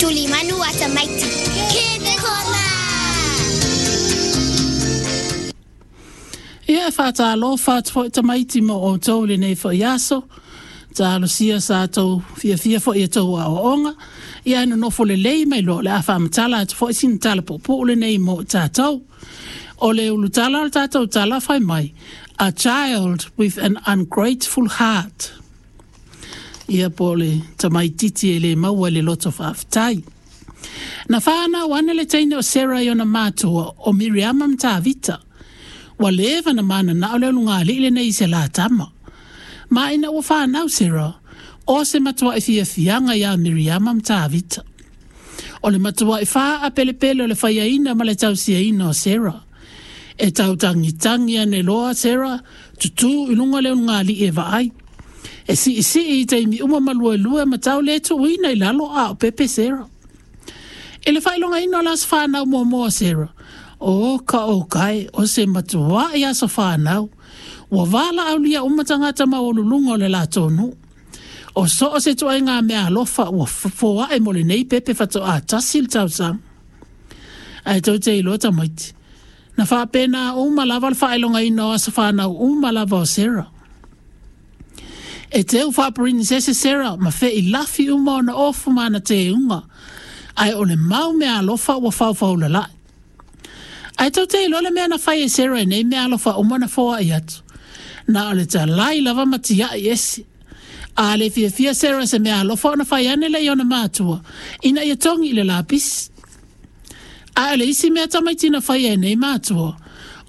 Tulimanu a tamaiti. Kids Corner! Ia e faatalofa atu foi tamaiti mo outou i lenei foi aso. Talosia sa tou fiafia foi i a outou aoaoga. Ia ae nonofo lelei mai loa o le a faamatala atu foi sina tala puupuu lenei mo tatou. O le ulutala o le tatou tala fai mai, A child with an ungrateful heart. Ia po o le tamaititi e le maua i le loto faafetai. Na whānau ane le teine o Sarah i ona mātua o Miriama ma Tavita. Ua leva na mananao le ulugalii lenei i se la tama. Ma ina ua whānau Sarah, o se matuaʻi fiafiaga iā Miriama ma Tavita. O le matuaʻi faapelepele o le faiaina ma le tausiaina o Sarah. E tautagitagi ane loa Sarah, tutū i luga o le ulugalii e vaai. E siisii i taimi uma ma luelue ma tau le tuuina i lalo a o pepe Sarah. I le faailogaina o le aso fanau muamua o Sarah, o ka oka e, o se matuaʻi aso fanau. Ua valaaulia uma tagata maualuluga o le latou nuu. O so o se ituaiga meaalofa ua foaʻe mo lenei pepe faatoā tasi le tausaga. Ae tou te iloa tamaiti, na faapena uma lava le faailogaina o aso fanau uma lava o Sarah. E teu faaperinisese Sarah ma feilafi uma ona ofu ma ana teuga, ae o le mau meaalofa ua faufaulalai. Ae tou te iloa le mea na fai e Sarah i nei meaalofa uma na foai atu? Na o le talai lava ma tiai ese. A le fiafia Sarah i se meaalofa ona fai ane lea i ona matua ina ia togi i le lapisi. Ae o le isi mea tamaiti na faia e nei matua,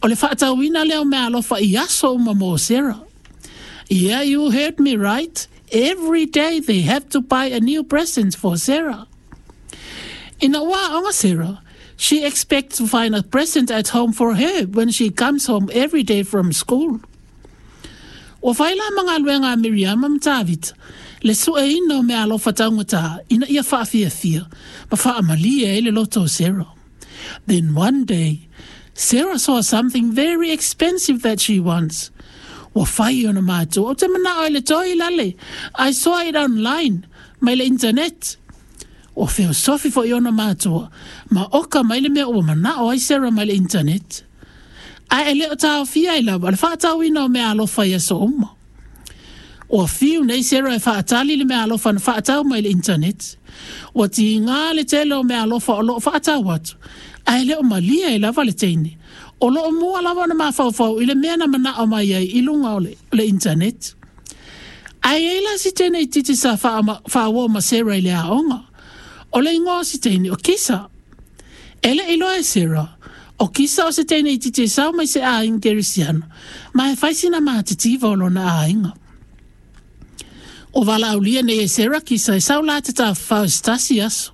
o le faatauina lea o meaalofa i aso uma mo Sarah. Yeah, you heard me right. Every day they have to buy a new present for Sarah. Ina ua aoga Sarah, she expects to find a present at home for her when she comes home every day from school. Ua fai la ma galuega a Miriama ma Tavita le sueina o meaalofa taugata ina ia faafiafia ma faamalie ai le loto o Sarah. Then one day, Sarah saw something very expensive that she wants. Ua fai i ona matua, Ou te manao i le toi lale. I saw it online, mai le internet. Ua feosofi foi ona matua, ma oka mai le mea ua manao ai Sarah mai le internet. Ae e le o taofia ai lava le faatauina o meaalofa i aso uma. Ua fiu nei Sarah e faatali i le meaalofa na faatau mai le internet. Ua tiga le tele o meaalofa o lo o faatau atu, ae le o malie ai lava le teine. O lo o mua lava ona mafaufau i le mea na manao mai ai i luga o le internet. Ae i ai la si teine itiiti sa faauo ma Sarah i le aoga. O le igoa o si teine o Kisa. E le i iloa e Sarah, o Kisa o se teine itiiti e sao mai se aiga Kerisiano, ma e fai sina matitiva o lona aiga. Ua valaaulia nei e Sarah Kisa e sau la te tafafao i se tasi aso.